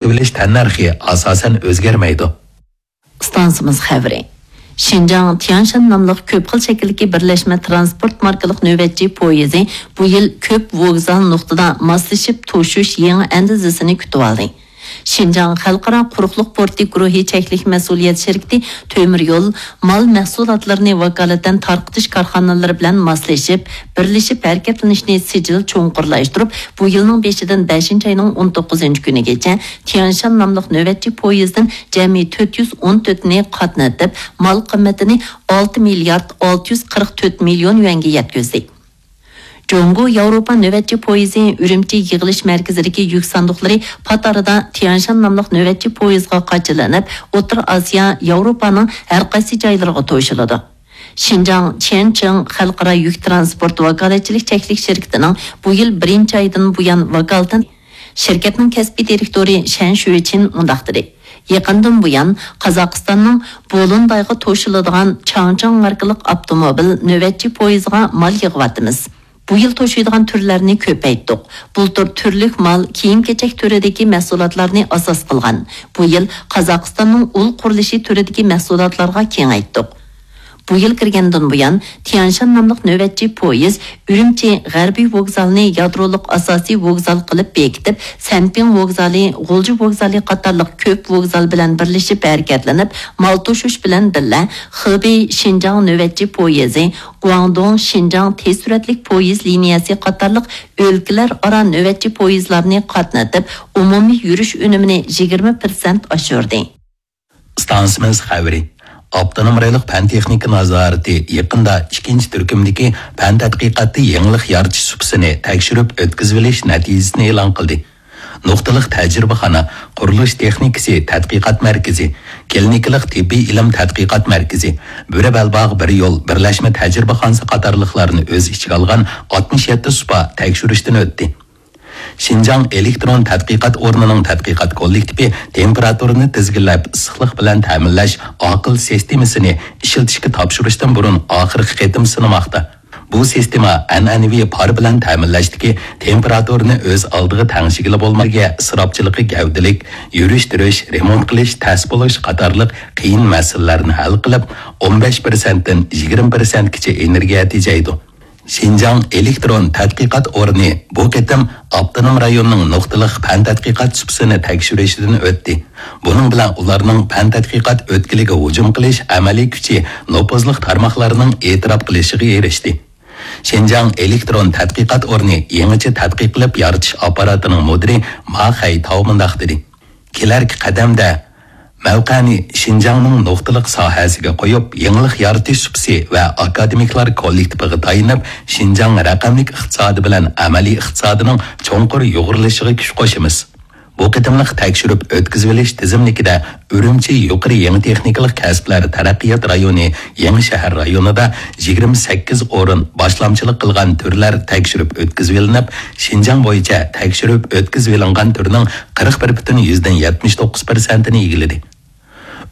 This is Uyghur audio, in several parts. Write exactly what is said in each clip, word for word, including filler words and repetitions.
ئېلىش تەننەرخى ئاساسەن ئۆزگەرمەيدۇ. ئىستانسىمىز خەۋىرى. شىنجاڭ تيانشان ناملىق كۆپ خىل شەكىلدىكى بىرلەشمە ترانسپورت ماركىلىق نۆۋەتچى پويىزى بۇ يىل كۆپ ۋوگزال نۇقتىدا ماسلىشىپ توشۇش يېڭى ئەندىزىسىنى كۈتۈۋالدى. شىنجاڭ خەلقئارا قۇرۇقلۇق پورتى گۇرۇھى چەكلىك مەسئۇلىيەت شىركىتى تۆمۈر يول مال مەھسۇلاتلىرىنى ۋاكالىتەن تارقىتىش كارخانىلىرى بىلەن ماسلىشىپ، بىرلىشىپ ھەرىكەتلىنىشنى سىجىل چوڭقۇرلاشتۇرۇپ، بۇ يىلنىڭ بېشىدىن بەشىنچى ئاينىڭ ئون توققۇزىنچى كۈنىگىچە تيانشان ناملىق نۆۋەتچى پويىزدىن جەمئىي تۆت يۈز ئون تۆتىنى قاتنىتىپ، مال قىممىتىنى ئالتە مىليارد ئالتە يۈز قىرىق تۆت مىليون يۈەنگە يەتكۈزدى. جۇڭگو ياۋروپا نۆۋەتچى پويىزى ئۈرۈمچى يىغىلىش مەركىزىدىكى يۈك ساندۇقلىرى پات ئارىدا تيانشان ناملىق نۆۋەتچى پويىزغا قاچىلىنىپ، ئوتتۇرا ئاسىيا، ياۋروپانىڭ ھەر قايسى جايلىرىغا توشۇلىدۇ. شىنجاڭ چيەنچىڭ خەلقئارا يۈك ترانسپورت ۋاكالەتچىلىك چەكلىك شىركىتىنىڭ بۇ يىل بىرىنچى ئايدىن بۇيان ۋاكالىتەن شىركەتنىڭ كەسپىي دىرېكتورى شەن شۈچىن مۇنداق دېدى: يېقىندىن بۇيان قازاقىستاننىڭ بولۇندايغا توشۇلىدىغان چاڭچىڭ ماركىلىق ئاپتوموبىل نۆۋەتچى پويىزىغا مال يىغىۋاتىمىز. بۇ يىل توشۇيدىغان تۈرلەرنى كۆپەيتتۇق. بۇلتۇر تۈرلۈك مال كىيىم-كېچەك تۈرىدىكى مەھسۇلاتلارنى ئاساس قىلغان. بۇ يىل قازاقىستاننىڭ ئۇل قۇرۇلۇشى تۈرىدىكى مەھسۇلاتلارغا كېڭەيتتۇق. بۇ يىل كىرگەندىن بۇيان، تيانشان ناملىق نۆۋەتچى پويىز ئۈرۈمچى غەربىي ۋوگزالىنى يادرولۇق ئاساسىي ۋوگزال قىلىپ بېكىتىپ، سەنپىڭ ۋوگزالى، غۇلجا ۋوگزالى قاتارلىق كۆپ ۋوگزال بىلەن بىرلىشىپ ھەرىكەتلىنىپ، مال توشۇش بىلەن بىللە، خېبېي شىنجاڭ نۆۋەتچى پويىزى، گۇاڭدۇڭ شىنجاڭ تېز سۈرئەتلىك پويىز لىنىيەسى قاتارلىق ئۆلكىلەر ئارا نۆۋەتچى پويىزلارنى قاتنىتىپ، ئومۇمىي يۈرۈش ئۈنۈمىنى يىگىرمە پىرسەنت ئاشۇردى. ئىستانسىمىز خەۋىرى. ئاپتونوم رايونلۇق پەن تېخنىكا نازارىتى يېقىندا ئىككىنچى تۈركۈمدىكى پەن تەتقىقاتتا يېڭىلىق يارىتىش سۇپىسىنى تەكشۈرۈپ ئۆتكۈزۈۋېلىش نەتىجىسىنى ئېلان قىلدى. نۇقتىلىق تەجرىبىخانا، قۇرۇلۇش تېخنىكىسى تەتقىقات مەركىزى، كلىنىكىلىق تېببىي ئىلىم تەتقىقات مەركىزى، بۆرە بەلباغ بىر يول بىرلەشمە تەجرىبىخانىسى قاتارلىقلارنى ئۆز ئىچىگە ئالغان ئاتمىش يەتتە سۇپا تەكشۈرۈشتىن ئۆتتى. شىنجاڭ ئېلېكترون تەتقىقات ئورنىنىڭ تەتقىقات كوللېكتىپى تېمپېراتۇرىنى تىزگىنلەپ، ئىسسىقلىق بىلەن تەمىنلەش ئاقىل سىستېمىسىنى ئىشلىتىشكە تاپشۇرۇشتىن بۇرۇن ئاخىرقى قېتىم سىنىماقتا. بۇ سىستېما ئەنئەنىۋى پار بىلەن تەمىنلەشتىكى تېمپېراتۇرىنى ئۆز ئالدىغا تەڭشىگىلى بولمايدىغان، ئىسراپچىلىقى گەۋدىلىك، يۈرۈش-تۇرۇش، رېمونت قىلىش تەس بولۇش قاتارلىق قىيىن مەسىلىلەرنى ھەل قىلىپ، ئون بەش پىرسەنتتىن يىگىرمە پىرسەنتكىچە ئېنېرگىيە تېجەيدۇ. شىنجاڭ ئېلېكترون تەتقىقات ئورنى بۇ قېتىم ئاپتونوم رايوننىڭ نۇقتىلىق پەن تەتقىقات سۇپىسىنى تەكشۈرۈشىدىن ئۆتتى. بۇنىڭ بىلەن ئۇلارنىڭ پەن تەتقىقات ئۆتكىلىگە ھۇجۇم قىلىش ئەمەلىي كۈچى نوپۇزلۇق تارماقلارنىڭ ئېتىراپ قىلىشىغا ئېرىشتى. شىنجاڭ ئېلېكترون تەتقىقات ئورنى يېڭىچە تەتقىق قىلىپ يارىتىش ئاپپاراتىنىڭ مۇدىرى ما خەيتاۋ مۇنداق دېدى: كېلەركى قەدەمدە مەۋقەنى شىنجاڭنىڭ نۇقتىلىق ساھەسىگە قويۇپ، يېڭىلىق يارىتىش سۇپىسى ۋە ئاكادېمىكلار كوللېكتىپىغا تايىنىپ، شىنجاڭ رەقەملىك ئىقتىسادى بىلەن ئەمەلىي ئىقتىسادىنىڭ چوڭقۇر يۇغۇرۇلۇشىغا كۈچ قوشىمىز. بۇ قېتىملىق تەكشۈرۈپ ئۆتكۈزۈۋېلىش تىزىملىكىدە ئۈرۈمچى يۇقىرى يېڭى تېخنىكىلىق كەسىپلەر تەرەققىيات رايونى يېڭى شەھەر رايونىدا يىگىرمە سەككىز ئورۇن، باشلامچىلىق قىلغان تۈرلەر تەكشۈرۈپ ئۆتكۈزۈۋېلىنىپ، شىنجاڭ بويىچە تەكشۈرۈپ ئۆتكۈزۈۋېلىنغان تۈرنىڭ قىرىق بىر پۈتۈن يۈزدىن يەتمىش توققۇز پىرسەنتىنى ئىگىلىدى.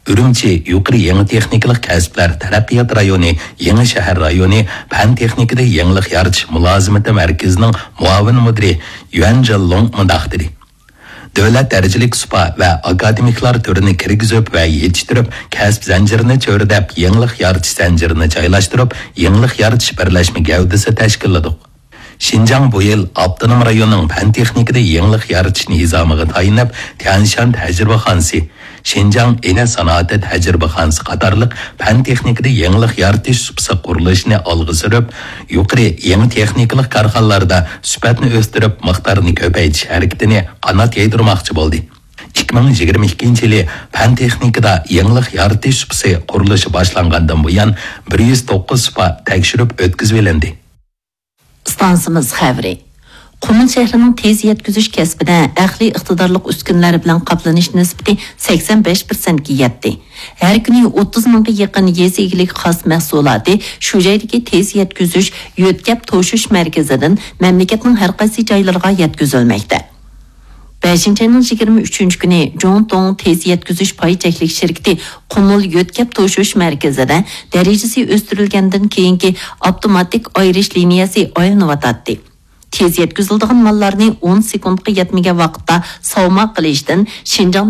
ئۈرۈمچى يۇقىرى يېڭى تېخنىكىلىق كەسىپلەر تەرەققىيات رايونى يېڭى شەھەر رايونى پەن تېخنىكىدا يېڭىلىق يارىتىش مۇلازىمىتى مەركىزىنىڭ مۇئاۋىن مۇدىرى يۈەن جىنلۇڭ مۇنداق دېدى: دۆلەت دەرىجىلىك سۇپا ۋە ئاكادېمىكلار تۈرىنى كىرگۈزۈپ ۋە يېتىشتۈرۈپ، كەسىپ زەنجىرىنى چۆرىدەپ، يېڭىلىق يارىتىش زەنجىرىنى جايلاشتۇرۇپ، يېڭىلىق يارىتىش بىرلەشمە گەۋدىسى تەشكىللىدۇق. شىنجاڭ بۇ يىل ئاپتونوم رايوننىڭ پەن تېخنىكىدا يېڭىلىق يارىتىش نىزامىغا تايىنىپ، تيەنشان تەجرىبىخانىسى، شىنجاڭ ئىنە سانائىتى تەجرىبىخانىسى قاتارلىق پەن تېخنىكىدا يېڭىلىق يارىتىش سۇپىسى قۇرۇلۇشىنى ئالغا سۈرۈپ، يۇقىرى يېڭى تېخنىكىلىق كارخانىلاردا سۈپەتنى ئۆستۈرۈپ، مىقدارنى كۆپەيتىش ھەرىكىتىنى قانات يايدۇرماقچى بولدى. ئىككى مىڭ يىگىرمە ئىككىنچى يىلى پەن تېخنىكىدا يېڭىلىق يارىتىش سۇپىسى قۇرۇلۇشى باشلانغاندىن بۇيان، بىر يۈز توققۇز سۇپا تەكشۈرۈپ ئۆتكۈزۈۋېلىندى. ئىستانسىمىز خەۋىرى. قۇمۇل شەھىرىنىڭ تېز يەتكۈزۈش كەسپىدە ئەقلىي ئىقتىدارلىق ئۈسكۈنىلەر بىلەن قاپلىنىش نىسبىتى سەكسەن بەش پىرسەنتكە يەتتى. ھەر كۈنى ئوتتۇز مىڭغا يېقىن يېزا ئىگىلىكى خاس مەھسۇلاتى شۇ جايدىكى تېز يەتكۈزۈش يۆتكەپ توشۇش مەركىزىدىن مەملىكەتنىڭ ھەر قايسى جايلىرىغا يەتكۈزۈلمەكتە. بەشىنچى ئاينىڭ يىگىرمە ئۈچىنچى كۈنى جۇڭتۇڭ تېز يەتكۈزۈش پاي چەكلىك شىركىتى قۇمۇل يۆتكەپ توشۇش مەركىزىدە دەرىجىسى ئۆستۈرۈلگەندىن كېيىنكى ئاپتوماتىك ئايرىش لىنىيەسى ئايلىنىۋاتاتتى. تېز يەتكۈزۈلىدىغان ماللارنى ئون سېكۇنتقا يەتمىگەن ۋاقىتتا ساۋما قىلىشتىن، شىنجاڭدىن